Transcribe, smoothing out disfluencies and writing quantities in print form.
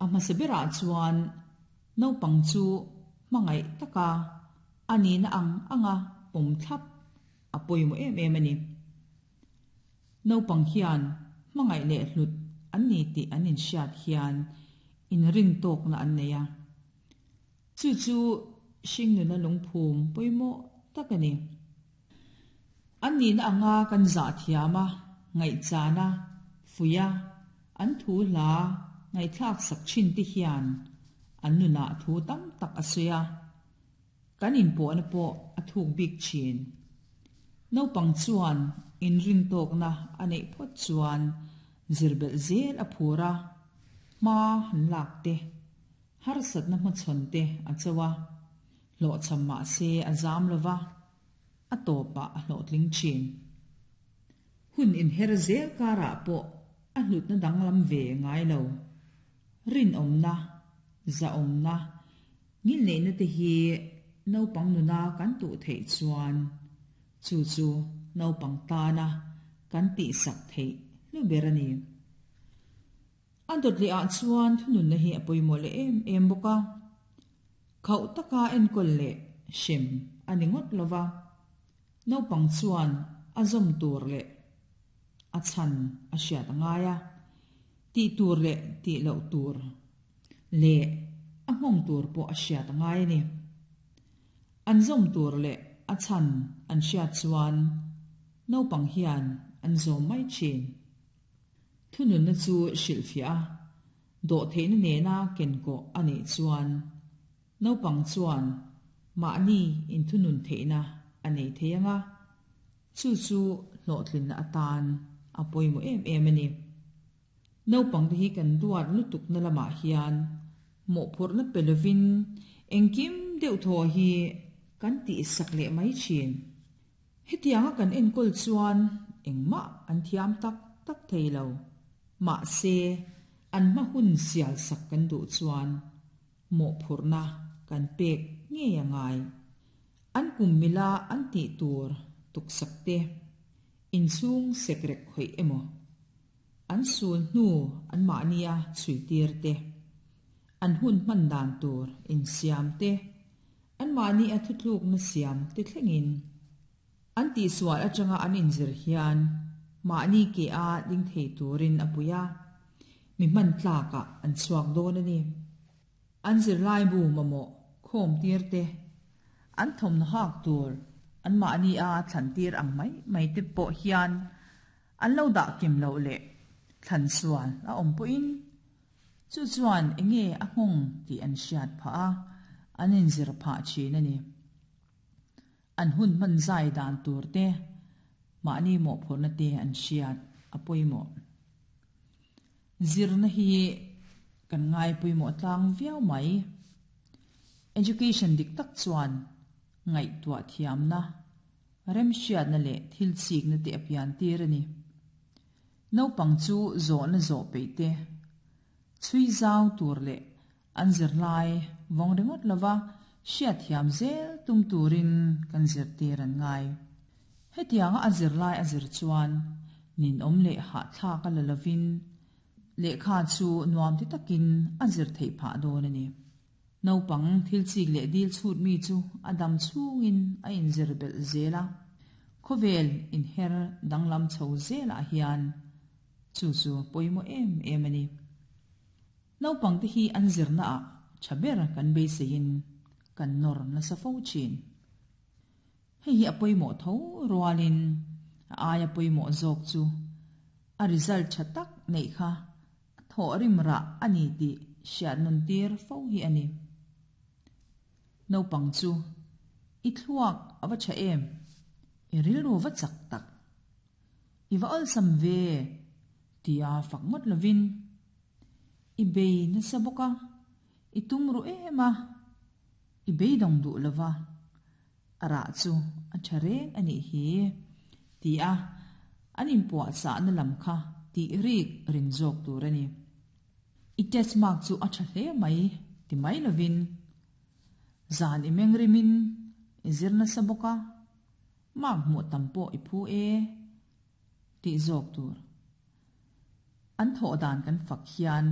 A hmasa berah chuan naupang chu hmangaih taka a nihna ang anga pawm thlap a pawimawh em em a ni. Naupang hian hmangaih leh hlut an ni tih an inhriat hian inrintawkna an nei a. Chu chu hringnuna lungphum pawimawh tak a ni. An nihna anga kan zah thiam a, ngaihchan a, fuih a, an thu hla ngaihthlak sak thin te hian an nunah thu tam tak a sawi a, kan inpawhna pawh a thuk bik thin. Naupang chuan inrintawkna a neih phawt chuan zirbelh zel a phur a, hma han lak te, harsatna hmachhawn te a cho a, hlawhchham mahse a zam lo va, a tawpah a hlawhtling thin. Hun inher zel karah pawh a hlutna danglam ve ngai lo. Rinawmna, zahawmna, ngilneihna te hi naupang nuna kan tuh theih chuan chu chu naupang tana kan tihsak theih hlu ber a ni. A dawt leh ah chuan thununna hi a pawimawh leh em em bawk a. Khauh taka enkawl leh hrem a ni ngawt lo va, naupang chuan a zawm tur leh a chhan a hriat a ngai a, tih tur leh tih loh tur leh a nghawng tur pawh a hriat a ngai a ni. An zawm tur leh a chhan an hriat chuan naupang hian an zawm mai thin. Thununna chu hrilhfiah a, dawhtheihna nena kenkawh a neih chuan naupang chuan mahni inthunun theihna a nei thei ang a, chu chu hlawhtlinna atan a pawimawh em em a ni. Naupangte hi kan duat lutukna lamah hian mawhphurhna pe lovin engkim deuhthaw hi kan tihsak leh mai thin. Hetianga kan enkawl chuan engmah an thiam tak tak thei lo. Mahse, an hma hun sial sak kan duh chuan mawhphurhna kan pek ngei a ngai. An kum mila an tih tur tuksak te, inchhung sekrek khawih emaw, an sul hnu anmahnia chhuitir te, an hun hman dan tur insiam te, Anmahni a thutlukna siam te thlengin an tihsual atanga an inzir hian mahni ke a ding thei turin a pui a, mi hman tlakah an chhuak dawn a ni. An zirlaibu mamawh khawm tir te, an thawmhnaw hak tur anmahni a thlan tir ang mai mai te pawh hian an lo dah kim loh leh thlan sual a awm pawhin Chu chuan enge a nghawng tih an hriat phah a, an inzir phah thin a ni. An hun hman zai dan tur te, mahni mawhphurhna te an hriat a pawimawh. Zirna hi kan ngai pawimawh tlang viau mai. Education dik tak chuan ngaihtuah thiamna, remhriatna leh thil chikna te a pian tir a ni. Naupang chu zawhna zawh peih te, chhui zau tur leh an zirlai vawng ringawt lova hriatthiam zel tum turin kan zirtir an ngai. Hetianga a zirlai a zir chuan ninawm leh hahthlak a la lovin lehkha chu nuam ti takin a zir theih phah dawn a ni. Naupang thil chik leh dil chhut mi chu a dam chhungin a inzir belh zel a, khawvel inher danglam chho zelah hian chu chu pawimawh em em a ni. Naupangte hi an zirnaah tha ber kan beiseiin kan nawr nasa fo thin. Hei hi a pawimawh tho rualin a aia pawimawh zawk chu a result tha tak neih kha A thawh rim rah a ni tih hriat nun tir fo hi a ni. Naupang chu, I thluak a va tha em? I rilru va chak tak. I va awlsam ve tia fak ngawt lovin, I bei nasa bawk a, i tum ruh em a, i beidawng duh lova, A rah chu a tha reng a nih hi, ti a an inpuahchahna lam kha tih rik rin zawk tur a ni. I test mark chu a tha hle mai ti mai lovin, zan i meng rimin i zir nasa bawk a, mark hmuh tam pawh i phu e tih zawk tur. An thawh dan kan fak hian.